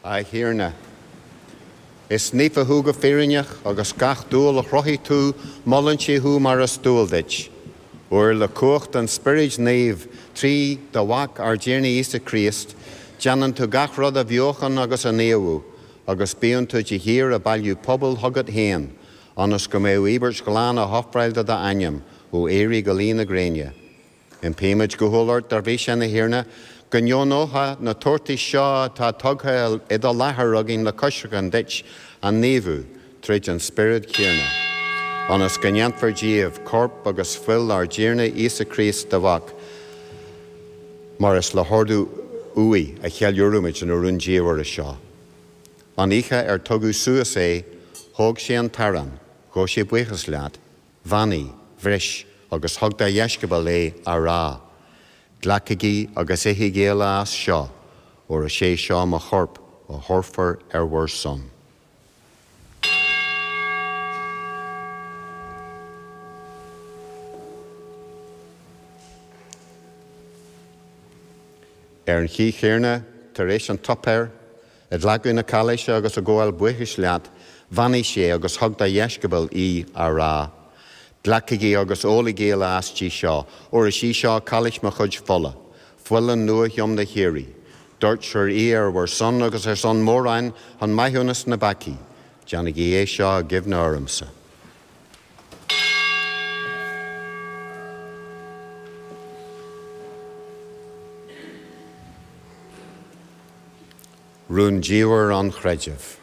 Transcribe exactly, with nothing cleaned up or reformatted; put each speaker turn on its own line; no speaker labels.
A Thiarna. Is naofa thú go fírinneach agus gach dúil a chruthaigh tú molann sé thú mar is dual duit. Óir le cumhacht an Spioraid Naoimh trí do Mhac ár dTiarna Íosa Críost, déanann tú gach rud a bheochan agus a naomhú, agus bíonn tú de shíor ag bailiú pobal chugat féin, ionas go mbeidh íobairt ghlan á hofráil do d'ainm ó éirí go luí na gréine. Impímid go humhal ort dár bhrí sin a Thiarna, go ndeonófá na tabhartais seo atá tugtha i do láthair againn le coisreacan duit a naomhú tríd an Spiorad céanna. Ionas go ndéanfar díobh corp agus fuil ár dTiarna Íosa Críost do Mhac, mar is le hordú uaidh a cheiliúraimid an rúndiamhair seo. An oíche ar tugadh suas é, thóg sé an t-arán, ghabh sé buíochas leat, bheannaigh, bhris agus thug dá dheisceabail é á rá. Glacaigí agus ithigí uile as seo, óir is é seo mo chorp a thabharfar ar bhur son. Ar an chaoi chéanna tar éis an tsuipéir, ag glacadh na cailíse agus ag gabháil buíochais leat, bheannaigh sé agus thug dá dheisceabail í á rá. Glacaigí agus ólaigí uile aisti seo, óir is í seo cailís mo chuid fola, fuil an nua-thiomna shíoraí. Doirtear í ar bhur son agus ar son mórán chun maithiúnas na bpeacaí, Déanaigí é seo i gcuimhne ormsa. Rúndiamhair an chreidimh.